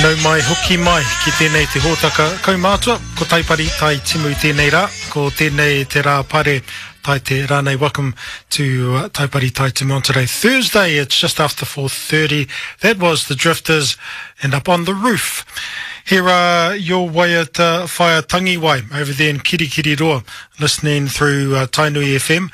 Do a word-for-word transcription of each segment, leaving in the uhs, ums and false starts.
Nau mai hoki mai ki tēnei te hōtaka kaumātua, ko Taipari Tai Timu tēnei rā, ko tēnei te rā pare tai te rānei. Welcome to uh, Taipari Tai Timu on today, Thursday. It's just after four thirty. That was The Drifters and Up on the Roof. Here are your waiata whaia tangiwai over there in Kirikiriroa, listening through uh, Tainui F M.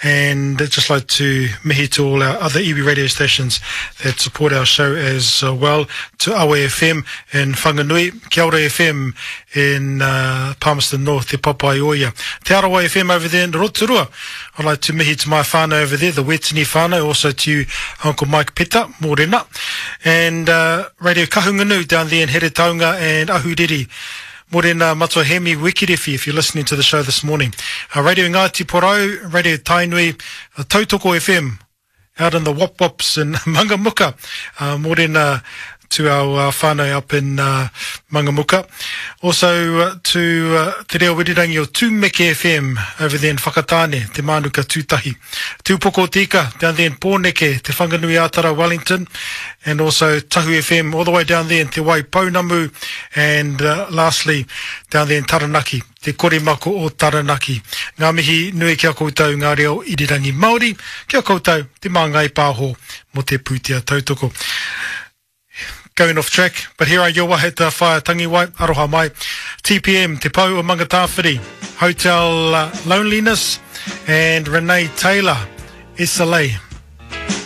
And I'd just like to mihi to all our other iwi radio stations that support our show as uh, well. To Awe F M in Whanganui, Kia Ora F M in uh, Palmerston North, Te Papaioia. Te Arawa F M over there in Rotorua. I'd like to mihi to my whānau over there, the Wetini whānau, also to you, Uncle Mike Peta, Morena. And uh, Radio Kahungunu down there in Heretaunga and Ahuriri. Morena Matua Hemi Wikiriwhi, if you're listening to the show this morning. Uh, Radio Ngāti Porou, Radio Tainui, uh, Tautoko F M, out in the Wop Wops in Mangamuka. Uh, morena to our uh, whānau up in uh, Mangamuka. Also uh, to uh, Te Reo Irirangi o Tumeke F M over there in Whakatane, Te Mānuka Tūtahi. Tūpoko Tika down there in Pōneke, Te Whanganui Atara Wellington, and also Tahu F M all the way down there in Te Waipounamu, and uh, lastly down there in Taranaki, Te Korimako o Taranaki. Ngā mihi nui ki a koutou ngā reo irirangi Māori, ki a koutou te Māngai Pāho mo te pūtea tautoko. Going off track, but here are your waiata whaia tangiwai, aroha mai. T P M, Te Pou o Mangatāwhiri, Hotel uh, Loneliness, and Renee Taylor, S L A.